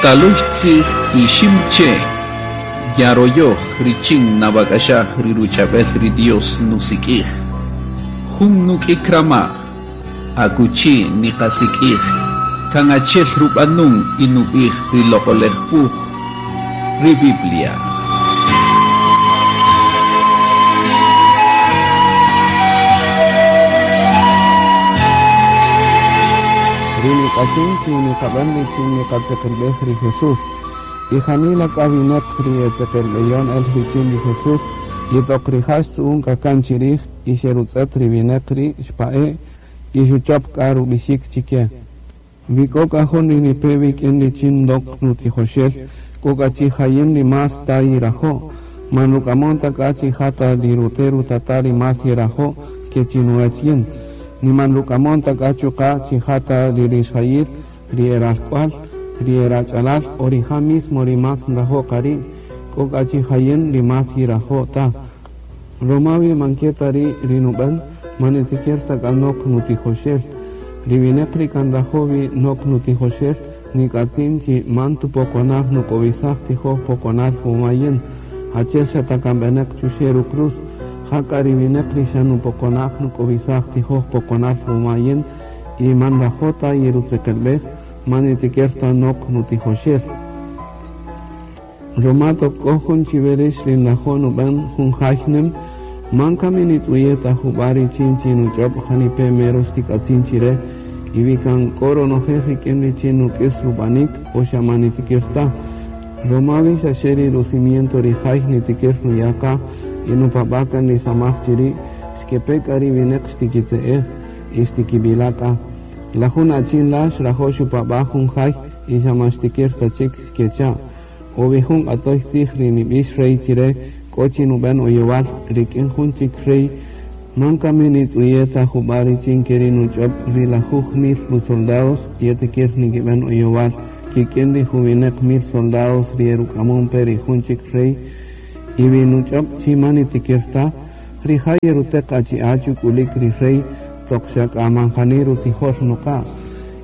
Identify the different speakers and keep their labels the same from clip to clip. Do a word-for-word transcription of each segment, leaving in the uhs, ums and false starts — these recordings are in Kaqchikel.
Speaker 1: Taluy tzij ixim che' yaroyoj richin nawak'axaj ri ruch'ab'el ri Dios nusik'ij. Jun nuk'ik ramaj akuchi niqasik'ij kan achi'el rub'anun y nub'ij ri Loq'oläj Wuj, ri Biblia.
Speaker 2: Ri nik'atzin chi niqab'än richin niqatzeqelb'ej ri Jesús. Y janila k'a winäq ri etzeqelb'eyon el richin ri Jesús, y toq rija' xtzu'un k'a kan chirij y xerutz'ët ri winäq ri' xpa'e' y xuchop k'a rub'ixik chike. Wi k'o k'a jun ri nipe wik'in richin ndok nutijoxel, k'o k'a chi jayin ri más ta yirajo', man ruk'amon ta k'a chi ja ta ri rute' rutata' ri más yerajo' ke chinuwech yin. Ni man ruk'amon ta k'a chuqa' chi ja ta ri rixjayil, ri eralk'wal, ri erach'alal o rija' mismo ri más nrajo' qa ri', k'o k'a chi jayin ri más yirajo' ta. Ruma wi man ke ta ri' ri nub'än, man nitikir ta k'a nok nutijoxel. Ri winäq ri kan nrajo' wi nok nutijoxel, nik'atzin chi man tupoqonaj nuk'owisaj tijoj poqonal wuma yin, achi'el xa ta kan b'enäq chuxe' rucruz, ja k'a ri winäq ri xa nupoqonaj nuk'owisaj tijoj poqonal wuma yin y man nrajo' ta yirutzeqelb'ej, man nitikir ta nok nutijoxel. Ruma toq k'o jun chiwe rïx ri nrajo' nub'än jun jay nüm, man kami nitz'uye' ta jub'a' richin chi nuch'ob' janipe' mero xtik'atzin chire, y wi kan k'o ronojel rik'in richin nuk'is rub'anik o xa man nitikir ta. Ruma wi xa xe ri rucimiento ri jay nitikir nuya' qa y nupab'a' kan ri samaj chiri', xkepe k'a ri winäq xtikitze'ej y xtikib'ila' k'a. La jun achin la' xrajo' xupab'a' jun jay y xa man xtikir ta chik xkecha'. O wi jun q'atoy tzij ri nib'ix rey chire k'o chi nub'än oyowal rik'in jun chik rey, man kami nitz'uye' ta jub'a' richin ke ri nuch'ob' ri lajuj mil rusoldados yetikir nikib'än oyowal kik'in ri juwinäq mil soldados ri eruk'amon pe ri jun chik rey, y wi nuch'ob' chi man nitikir ta, rija' yeruteq achi'a' chuk'ulik ri rey toq xa k'a man jani rutzijol nuqa'.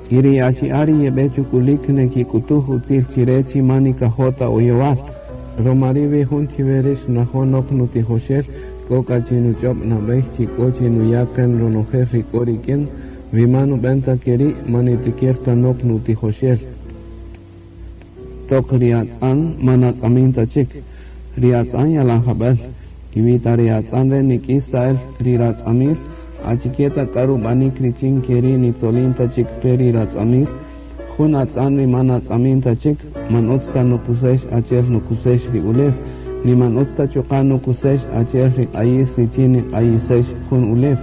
Speaker 2: Y ri achi'a' ri yeb'e chuk'ulik nekik'utuj utzil chire chi man nikajo' ta oyowal. Ruma ri' wi jun chiwe rïx nrajo' nok nutijoxel, k'o k'a chi nuch'ob' nab'ey chi k'o chi nuya' kan ronojel ri k'o rik'in, wi man nub'än ta ke ri' man nitikir ta nok nutijoxel. Toq ri atz'an man atz'amin ta chik, ri atz'an yalan jab'el, y wi ta ri atz'an re' nik'is ta el ri ratz'amil, achike ta k'a rub'anik richin ke ri' nitzolin ta chik pe ri ratz'amil, jun atz'an ri man atz'amin ta chik, man utz ta nukusex achi'el nukusex ri ulew, ni man utz ta chuqa' nukusex achi'el ri q'ayis richin niq'ayisex jun ulew,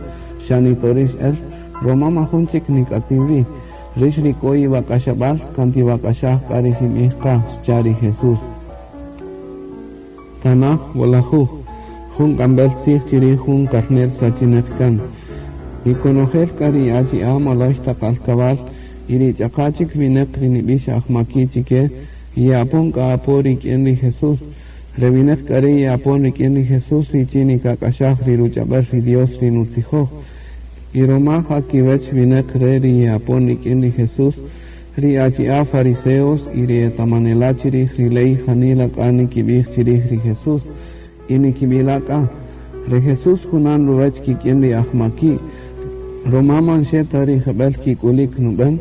Speaker 2: xa nitorix el, ruma majun chik nik'atzin wi. Rïx ri k'o iwak'axab'al kan tiwak'axaj k'a ri xinb'ij qa, xcha' ri Jesús. Tanaj wolajuj, jun k'amb'el tzij chirij jun karner sachinäq kan. Y konojel k'a ri achi'a' moloy taq alkab'al y ri ch'aqa' chik winäq ri nib'ix ajmaki' chike, ye'apon k'a apo rik'in ri Jesús. Re winäq k'a ri' ye'apon rik'in ri Jesús richin nikak'axaj ri ruch'ab'äl ri Dios ri nutzijoj. Y ruma ja kiwech winäq re' ri ye'apon rik'in ri Jesús, ri achi'a' fariseos y ri etamanela' chirij ri ley janila k'a nikib'ij chirij ri Jesús, y nikib'ila' k'a. Ri Jesús junan ruwech kik'in ri ajmaki', ruma man xe ta ri jeb'ël kik'ulik nub'än,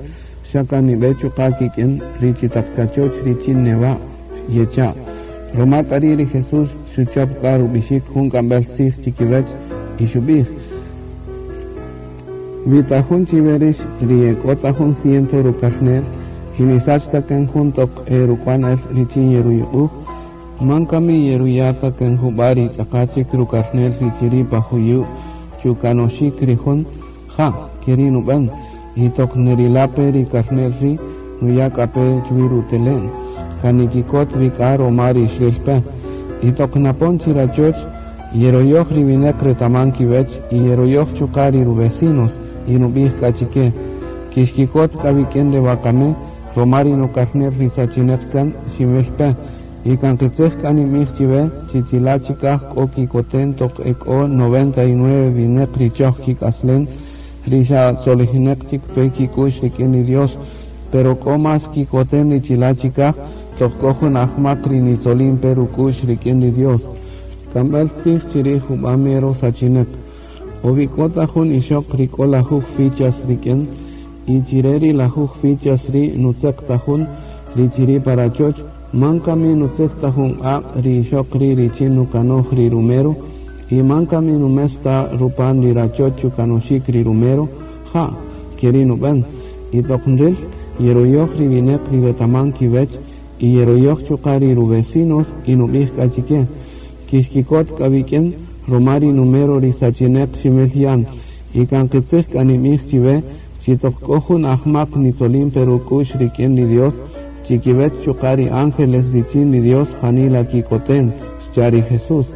Speaker 2: xa kan nib'e chuqa' kik'in ri chi taq kachoch richin newa' yecha'. Ruma k'a ri' ri Jesús xuchop k'a rub'ixik jun k'amb'el tzij chikiwech y xub'ij: Wi ta jun chiwe rïx ri ek'o ta jun ciento rukarnel y nisach ta kan jun toq eruk'wan el richin yeruyuq'uj, man kami yeruya' ta kan jub'a' ri ch'aqa' chik rukarnel ri chiri' pa juyu' chukanoxik ri jun, ja, ke ri' nub'än, y toq nerila' pe ri karnel ri' nuya' k'a pe chwi rutele'n, kan nikikot wi k'a ruma ri xril pe. Y toq napon chirachoch, yeroyoj ri winäq retaman kiwech y yeroyoj chuqa' ri ruvecinos, y nub'ij k'a chike: Kixkikot k'a wik'in re wakami, ruma ri nukarnel ri sachinäq kan xinwil pe. Y kan qitzij k'a ninb'ij chiwe chi chila' chikaj k'o kikoten toq ek'o noventa y nueve winäq ri choj kik'aslen, ri xa tzolijinäq chik pe kik'u'x rik'in ri Dios, Pero k'o mas kikoten ri chila' chikaj toq k'o jun ajmaq ri nitzolin pe ruk'u'x rik'in ri Dios. K'amb'äl tzij chirij jub'a' mero sachinek. O wi k'o ta jun ixoq ri k'o lajuj fichas rik'in y chire ri lajuj fichas ri' nutzeq ta jun ri chiri' pa rachoch, man kami nutzeq ta jun q'aq' ri ixoq ri' richin nukanoj ri rumero, y man kami numes ta rupan ri rachoch chukanoxik ri rumero, ja', keri' nub'än. Y toq nril, yeroyoj ri wineq ri retaman kiwech, y yeroyoj chuqa' ri ruvecinos y nub'ij k'a chike. Kixkikot k'a wik'in, ruma ri numero ri sachineq ximil yan, y kan qitzij k'a ninb'ij chiwe, chi toq k'o jun ajmaq nitzolin pe ruk'u'x rik'in ri Dios, chikiwech chuqa' ri ángeles richin ri Dios janila kikoten, xcha' ri Jesús.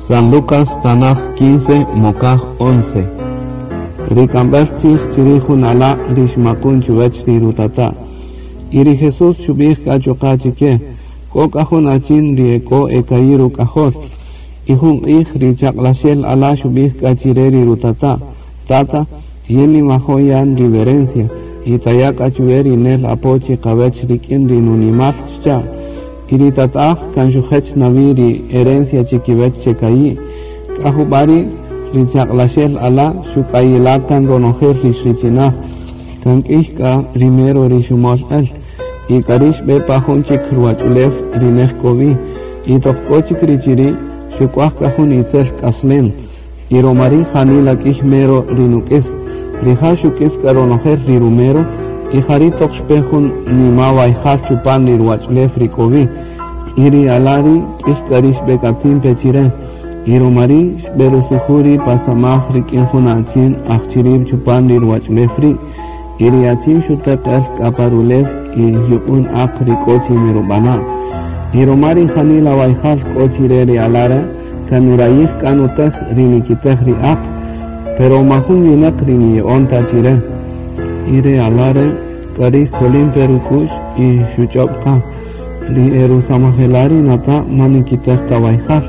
Speaker 2: San Lucas Tanaj quince, Mokaj once. Ri k'amb'äl tzij chirij jun ala' ri xmakun chuwech ri rutata'. Y ri Jesús xub'ij k'a chuqa' chike, k'o k'a jun achin ri ek'o eka'i' ruk'ajol. Y jun q'ij ri chaq'laxel ala' xub'ij k'a chire ri rutata', Tata, yin ninwajo' yan ri werencia, y taya' k'a chuwe ri nel apo chiqawech rik'in ri nunimal, xcha'. Y ri tata'aj kan xujech nawi ri herencia chikiwech cheka'i'. K'a jub'a' ri' ri chaq'laxel ala' xuk'ayila' kan ronojel ri xrichinaj. Kan k'ïy k'a ri mero ri xumol el. Y k'a ri' xb'e pa jun chik ruwach'ulew ri nej k'o wi. Y toq k'o chik ri chiri' xuk'waj k'a jun itzel k'aslem. Y ruma ri' janila k'ïy mero ri nuk'is. Rija' xuk'is k'a ronojel ri rumero, y jari' toq xpe jun nima wayjal chupan ri ruwach'ulew ri k'o wi. Y ri ala' ri' k'ïy k'a ri xb'ek'atzin pe chire. Y ruma ri' xb'erusuju' ri' pa samaj rik'in jun achin aj chiri' chupan ri ruwach'ulew ri'. Y ri achin xuteq el k'a pa rulew y yuq'un aq ri k'o chi nirub'ana'. Y ruma ri janila wayjal k'o chire ri ala' re', kan nurayij k'a nutej ri nikitej ri aq, pero majun winäq ri niya'on ta chire. Y ri ala' re' k'a ri' xtzolin pe ruk'u'x y xuch'ob' qa. Ri erusamajela' ri nata' man nikitej ta wayjal,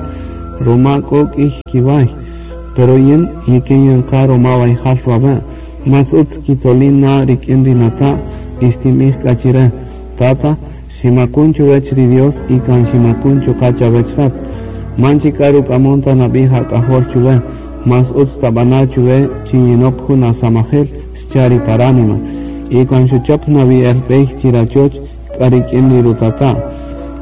Speaker 2: ruma k'o k'ïy kiway. Pero yin yikin yanqa ruma wayjal wawe'. Mas utz kitzolin na rik'in ri nata' y xtinb'ij k'a chire. Tata, ximakun chuwech ri Dios y kan ximakun chuqa' chawech rat. Man chik k'a ruk'amon ta nab'ij ak'ajol chuwe. Mas utz tab'ana' chuwe chi yinok jun asamajel, xcha' ri paránima. Y kan xuchop nawi el b'ey chirachoch k'a rik'in ri rutata'.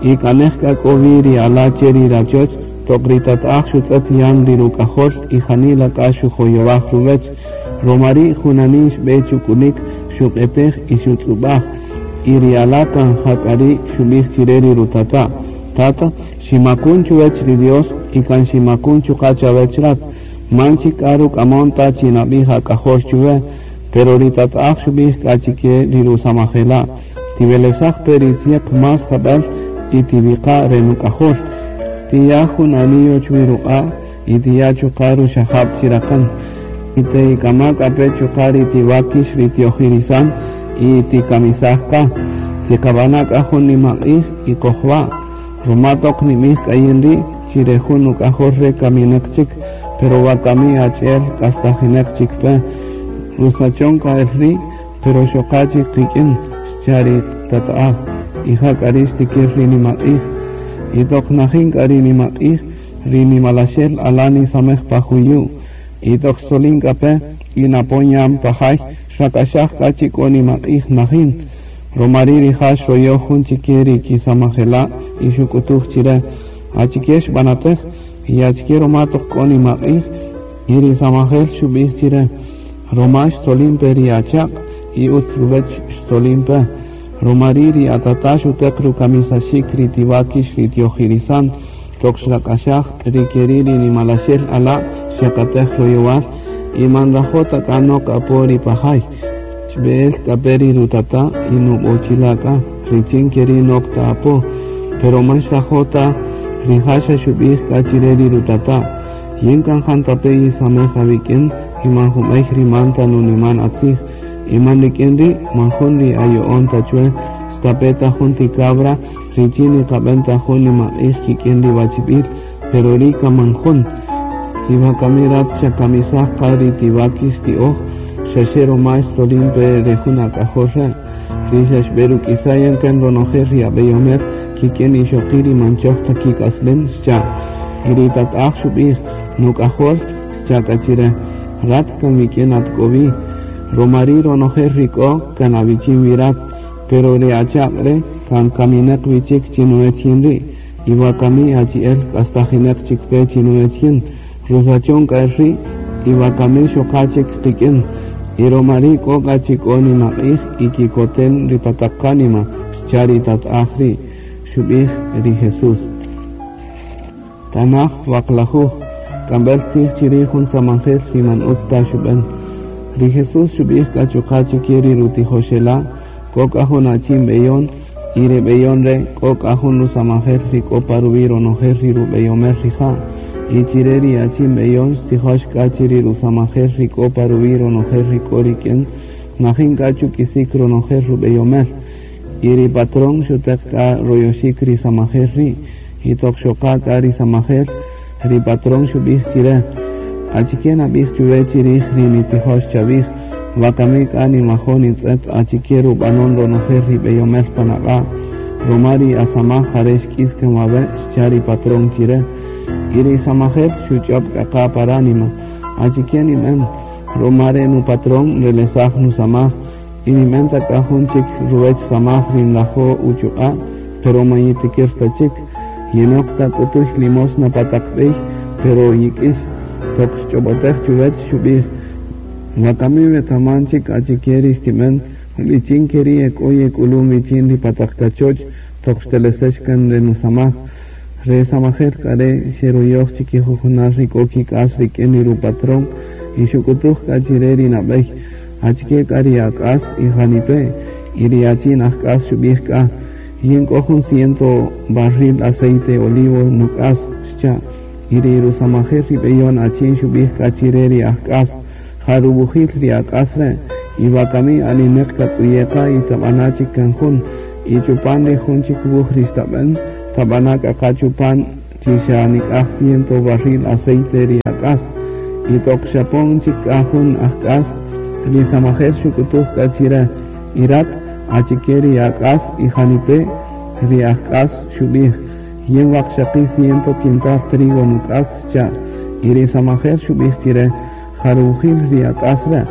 Speaker 2: Y k'a nej k'a k'o wi ri ala' che ri rachoch, toq ri tata'aj xutz'ët yan ri ruk'ajol y janila k'a xujoyowaj ruwech. Ruma ri' junanin xb'e chuk'ulik, xuq'etej y xutz'ub'aj. Y ri ala' kan ja k'a ri' xub'ij chire ri rutata'. Tata, ximakun chuwech ri Dios y kan ximakun chuqa' chawech rat. Man chik k'a ruk'amon ta chi nab'ij ak'ajol chuwe. Pero ri tata'aj xub'ij k'a chike ri rusamajela'. Tiwelesaj pe ri tzieq mas jab'äl y tiwiqa' re nuk'ajol. Tiya' jun anillo chuwi ruq'a' y tiya' chuqa' ruxajab' chiraqän. Y tik'ama' k'a pe chuqa' ri tiwakix ri tiojirisan y tikamisaj qa. Tiqab'ana' k'a jun nimaq'ij y qojwa'. Ruma toq nimij k'ayin ri' chire jun nuk'ajol re kaminaq chik, pero wakami achi'el k'astajinaq chik pe. Rusachon k'a el ri', pero xoqa chik qik'in, xcha' ri tata'aj. Y ja k'a ri' xtikir ri nimaq'ij. Y toq najin k'a ri nimaq'ij, ri nimalaxel ala' nisamej pa juyu'. Y toq xtzolin k'a pe, y napon yan pa jay, xrak'axaj k'a chi k'o nimaq'ij najin. Ruma ri' rija' xroyoj jun chike ri kisamajela' y xuk'utuj chire. Achike xb'anatej, y achike ruma toq k'o nimaq'ij, y ri samajel xub'ij chire. Ruma xtzolin pe ri achaq' y utz ruwech xtzolin pe. Ruma ri' ri atata' xuteq rukamisaxik ri tiwakix ri tiojirisan, toq xrak'axaj ri keri' ri nimalaxel ala' xyakatej royowal y man nrajo' ta k'a nok apo ri pajay. Xb'e'el k'a pe ri rutata' y nub'ochila' k'a richin keri' nok ta apo. Pero man xrajo' ta rija' xa xub'ij k'a chire ri rutata'. Yin kan jantape' yisamej awik'in y man junb'ey ri man ta nuniman atzij. Y man rik'in ri' man jun ri ayo'on ta chwe stape' ta jun ti cabra richin niqab'en ta jun nimaq'ij kik'in ri wachib'il, pero ri' kan man jun. Y wakami rat xakamisaj qa ri tiwakix ti'oj, Xaxe ruma xtzolin pe re jun ak'ajol re', ri xa xb'eruk'isayan kan ronojel ri ab'eyomel kik'in ixoqi' ri man choj ta kik'aslem, xcha'. Y ri tata'aj xub'ij, nuk'ajol, xcha' k'a chire, rat kan wik'in at k'o wi, ruma ri' ronojel ri k'o kan awichin wi rat, pero ri achaq' re' kan kaminaq wi chik chinuwech yin ri', y wakami achi'el k'astajinaq chik pe chinuwech yin, rusachon k'a el ri', y wakami xoqa chik qik'in, y ruma ri' k'o k'a chi k'o nimaq'ij y kikotem ri pa taq qánima, xcha' ri tata'aj ri', xub'ij ri Jesús. Tanaj waqlajuj, k'amb'el tzij chirij jun samajel ri man utz ta xub'an. Ri Jesús xub'ij k'a chuqa' chike ri rutijoxela', k'o k'a jun achin b'eyon, y ri b'eyon re' k'o k'a jun rusamajel ri k'o pa ruwi' ronojel ri rub'eyomel rija', y chire ri achin b'eyon xtzijox k'a chi ri rusamajel ri k'o pa ruwi' ronojel ri k'o rik'in, najin k'a chuk'isik ronojel rub'eyomel. Y ri patrón xuteq k'a royoxik ri samajel ri', y toq xoqa k'a ri samajel, ri patrón xub'ij chire, achike nab'ij chuwe chirij ri nitzijox chawij, wakami k'a nimajo' nitz'et achike rub'anon ronojel ri b'eyomel pan aq'a', ruma ri asamaj jare' xk'is kan wawe', xcha' ri patrón chire. Y ri samajel xuch'ob' k'a qa pa ránima, achike nib'en, ruma re' nupatrón nrelesaj nusamaj, y nib'en ta k'a jun chik ruwech samaj ri nrajo' uchuq'a', pero man yitikir ta chik, yinok ta k'utuy limosna pa taq b'ey, pero yik'ix, toq xch'ob'otej chuwech xub'ij, wakami wetaman chik achike ri xtib'en, richin ke ri' ek'o yek'ulun wichin ri pa taq kachoch, toq xtelesex kan re nusamaj. Re samajel k'a re' xeruyoj chikijujunal ri k'o kik'as rik'in ri rupatrón, y xuk'utuj k'a chire ri nab'ey, achike k'a ri ak'as y janipe', y ri achin ajk'as xub'ij k'a, yin k'o jun ciento barril aceite olivo nuk'as, xcha', y ri rusamajel ri b'eyon achin xub'ij k'a chire ri ajk'as, jaruwujil ri ak'as re', y wakami aninaq katz'uyeqa y tab'ana' chik kan jun, y chupan ri jun chik wuj ri xtab'en, tab'ana' k'a qa chupan chi xa nik'aj ciento barril aceite ri ak'as, y toq xapon chik k'a jun ajk'as, ri samajel xuk'utuj k'a chire, y rat achike ri ak'as y janipe' ri ajk'as xub'ij, yin waqxaqi' ciento quintal trigo nuk'as, xcha', y ri samajel xub'ij chire, jaruwujil ri ak'as re',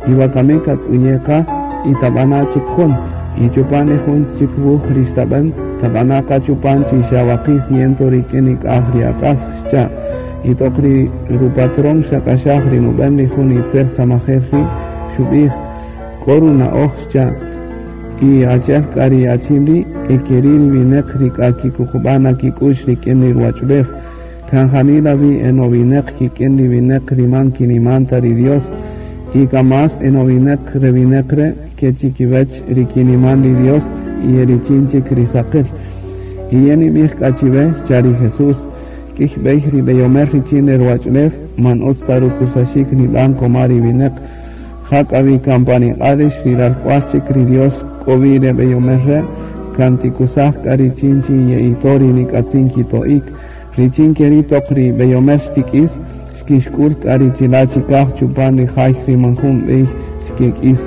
Speaker 2: y wakami katz'uyeqa y tab'ana' chik jun, y chupan ri jun chik wuj ri xtab'en, tab'ana' qa chupan chi xa waqi' ciento rik'in nik'aj ri ak'as, xcha', y toq ri rupatrón xak'axaj ri nub'en ri jun itzel samajel ri' xub'ij, k'o runa'oj, xcha', y achi'el k'a ri achin ri' ekeri' ri winaq ri k'a kikuqub'an kik'u'x rik'in ri ruwach'ulew, kan janila wi enowinaq kik'in ri winaq ri man kiniman ta ri Dios, y k'a más enowinaq re winaq re' ke chikiwech ri kiniman ri Dios y richin chik ri saqil. Y yin nib'ij k'a chiwe, xcha' ri Jesús, k'ij b'ey ri b'eyomel richin ri ruwach'ulew man utz ta rukusaxik nib'an koma ri winaq, ja k'a wi kan pan iq'a' rix ri ralk'wal chik ri Dios k'o wi re b'eyomel re', kan tikusaj k'a richin chi ye'ito ri nik'atzin kito'ik, richin ke ri' toq ri b'eyomel xtik'is, xkixk'ul k'a ri chila' chikaj chupan ri jay ri man jun b'ey xkek'is.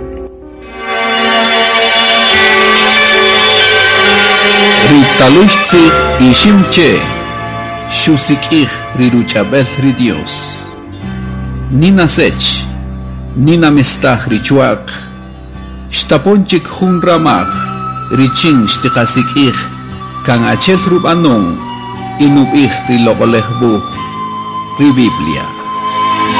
Speaker 1: Ri taluy tzij Iximche xusik'ij ri ruch'ab'el ri Dios. Nina sech, nina mestaj ri chuaq, xtapon chik jun ramaj, richin xtiqasik'ij, kan achel rub'anon, y nub'ij ri loq'olej wuj, ri Biblia.